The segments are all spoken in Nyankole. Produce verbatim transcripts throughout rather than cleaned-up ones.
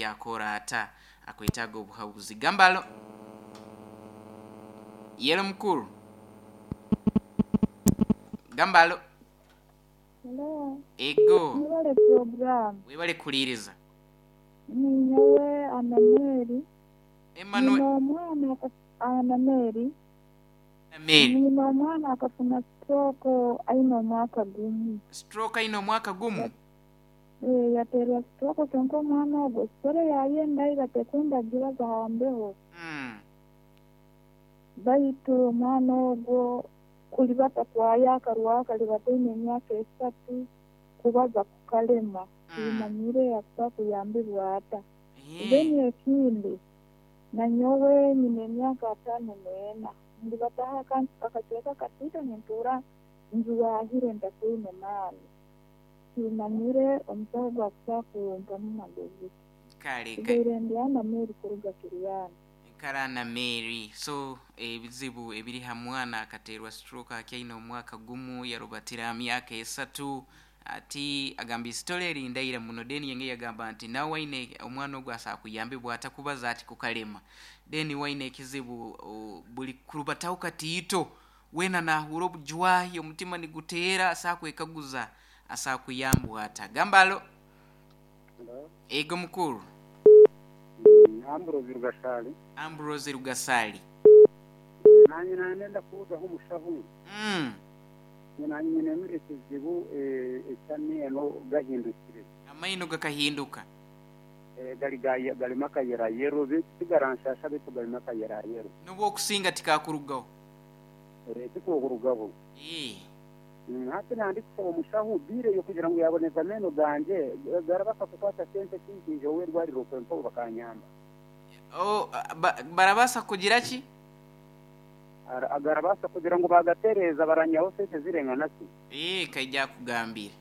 Yakora ata? Akwetaaga obuhabuzi. Gambalo yelo mukuru, gambalo. Hello. Ego. Mwebale program. Webale kuliiriza. Ninyowe Anameri. Emmanuel. Nina omwana aka- Anameri. Mary. Nina omwana akafuna stroke aine omwaka gumu. Stroke aine omwaka gumu? Eh, yaterwa stroke, kyonka omwana ogwo sitore yayenda batekwenda gira zahambeho. Mm. Baitu omwana ogwo kulibata kwayo akarwa kalibata aine emyaka esatu, kubaza kukalema. Mm. Kimanyire akusa kuyambibwa ata. Eh. Then ekindi, nanyowe nyine emyaka ataano n'ena, ndibataho akacweka katiito, nintuura njuwahire ntakwine maani. Kimanyire omusawo gwakusa kumpamu magezi. Kale ka- Tugaire ndi Anameri kuruga Kiryana. Karana Mary. So ebizibu ebiri ha mwana akaterwa stroke akyaine omwaka gumu, yarubatira myaka esatu, ati agamba isitole erindaira muno. Then yenge yagamba nti nawe waine omwana ogwo asa kuyambibwa atakubaza ati kukalema. Then waine ekizibu o, buli kurubataho katiito wena nahura obujwahi, omutima niguteera, asa kwekaguza asa kuyambwa ata. Gambalo. Ego mukuru. Ambrose Rugasali. Ambrose Rugasali. Nanyi nenda kuuzaho omushaho. Mm. Nanyi nyine ekizibu eky'amaino gahindukire. Amaino gakahinduka. Gali galimu akayerayero, tigaranshasha baitu galimu akayerayero. Nubwo okusinga tikakurugaho. Tikukurugaho. Eh. Hati nandi kusaba omushaho bireyo kugira ngu yaboneza ameno ganje, garabasa kukwata sente kingi ow'erwariro kwempa bakanyamba. Oh, ba, barabasa kugira ki? Agarabasa kugira ngu bagatereza baranyaho sente zirengana ki? Eh, kaija kugambira.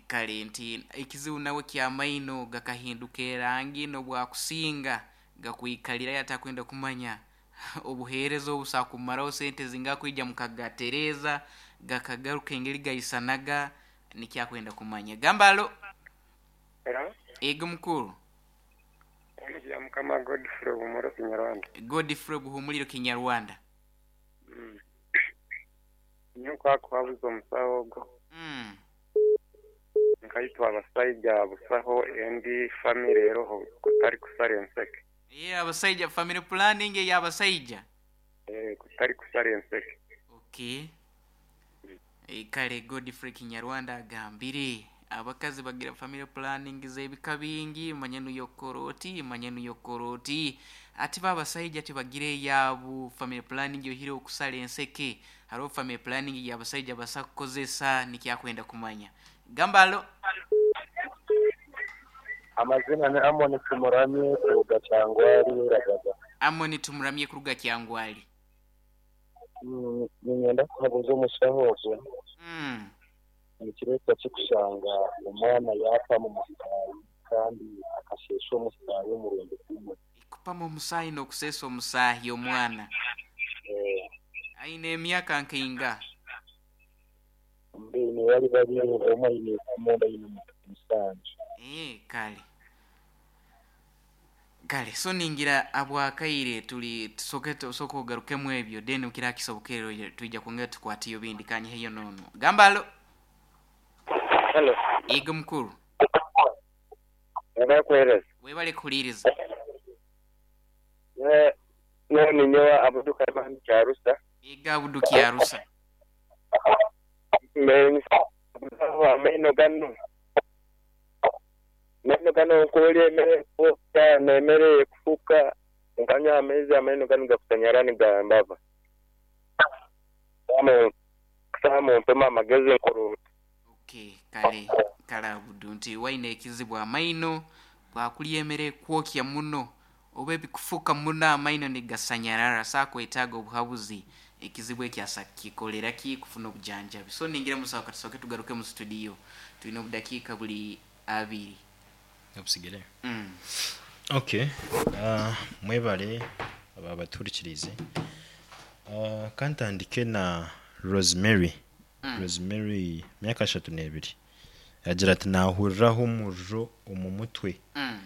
Kale nti ekizibu nawe ky'amaino gakahinduka erangi n'obwakusinga gakwikalira yatakwenda kumanya obuheereza obusakumaraho sente zingakwija mukagatereza gakagaruka engeri gaisanaga, nikyakwenda kumanya. Gambalo. Hello. Ego mukuru. Ya mukama Godfrey Buhumuriro Kinyarwanda. Godfrey Buhumuriro Kinyarwanda. Mm. Nyuko akwabuza omusawo ogwo. Mm. Nkaitwa abasaija busaho endi family eroho kutari kusara enseke. Yeah, abasaija family planning ey'abasaija. Eh, kutari kusara enseke. Okay. E, kale Godfrey Kinyarwanda agambire abakazi bagira family planning z'ebika bingi, manye nuyokoroti, manye nuyokoroti, ati babasaija tibagire eyabu family planning yohire okusala enseke. Hariho family planning y'abasaija basa kukozesa, nikyakwenda kumanya. Gambalo. Amazina ni Amoni Tumuramye kuruga Kyangwali Ragaga. Amoni Tumuramye kuruga Kyangwali. Mm, ninyenda kuhabuza omushaho ogwo. Mm. Nikireetwa kikushanga omwana yaapa mu musaayi kandi akasheesha omusaayi omurundi gumwe. Kupama omusaayi n'okuseesa omusaayi omwana. Eh. Aine emyaka nkainga? Mbe bari bari omwe aine ikumi, ondi aine musanju. Eh, kale. Kale, so ningira abwakaire tuli tusoke tusoko ogarukemu ebyo, then ukira kisobokero tuija kwongera tukwatiyo bindi kanye hiyo nono. Gambalo. Hello. Ego mukuru. Ndakwereza. Webale kuhuliriza. Ne no ninyowa abuduka mani kyarusa. Ega abuduka yarusa. Mbe ameno gano. Meno gano nkolye emere kufuka na emere kufuka nkanywa amaizi ameno gano gakusanyarani gambava. Samo samo mpema amagezi nkuru. Okay, kale kale abudu nti waine ekizibu amaino bwakulya emere kwokya muno oba ebikufuka muno amaino nigasanyarara, sakwetaaga obuhabuzi ekizibu ekyasa kikolera ki kufuna obujanjabi. So ningira musawo katusoke tugaruke mu studio, tulina obudakiika buli abiri obusigire. Mm. Okay, uh, mwebale aba baturikirize. Uh, kantandike na Rosemary. Mm. Rosemary myaka ashatu n'ebiri agira ati nahuriraho omuriro omu mutwe. Mm.